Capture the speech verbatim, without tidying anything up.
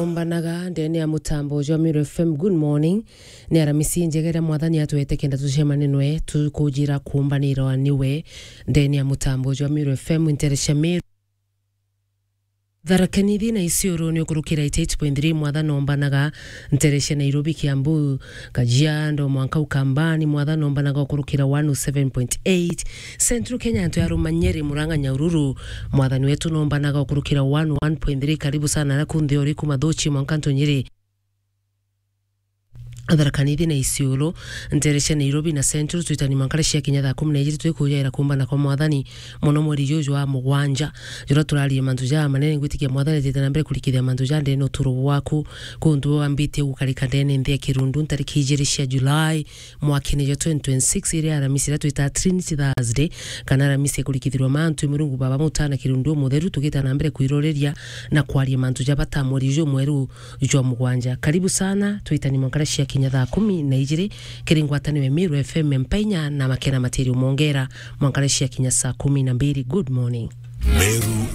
Mbanaga ndene ya mutambo jwa Meru F M, good morning. Ni aramisi njega iria Mwathani atwete kenda tucemane nwe, tukujira kumbanirwa niwe ndene ya mutambo jwa Meru F M, ntere cia Meru. Tharaka Nithi na Isiolo ni ukurukira eighty-eight point three, Mwathani ombanaga ntere cia Nairobi, Kiambu, Kajiado, mwanka Ukambani, Mwathani ombanaga ukurukira one oh seven point eight. Central Kenya antu ya Ruma, Nyeri, Murang'a, Nyahururu, Mwathani wetu nombanaga ukurukira one oh one point three. Karibu sana na kunthe uri kuma Thuchi mwanka Ntunyiri. Tharaka Nithi na Isiolo, ntere cia Nairobi na Central, twitani mwanka cia kinya thaa kumi na ijiri, twikujaira kumbana kwa Mwathani mono mweri juju wa mugwanja. Jura turarie mantu ja manene, ngwitikia Mwathani atite na mbere kurikithia mantu ja ndene uturo bwaku. Kuntu wambite gukarika ndene nthi ya kirundu ntariki ijiri cia Julai, mwakene jwa twenty twenty-six, iria aramisi iria twita Trinity Thursday, kana aramisi ya kurikithirwa mantu, Murungu Baba Mutana Kirundu Mutheru, tugita na mbere kwiroreria na kwaria mantu ja bata mweri uju mweru jwa mugwanja. Karibu sana, twitani mwanka cia kinya thaa kumi na ijiri, kiri ngwataniro ya Meru F M Mpainya na Makena Material Mongera, mwanka cia kinya saa kumi na mbiri. Good morning. Meru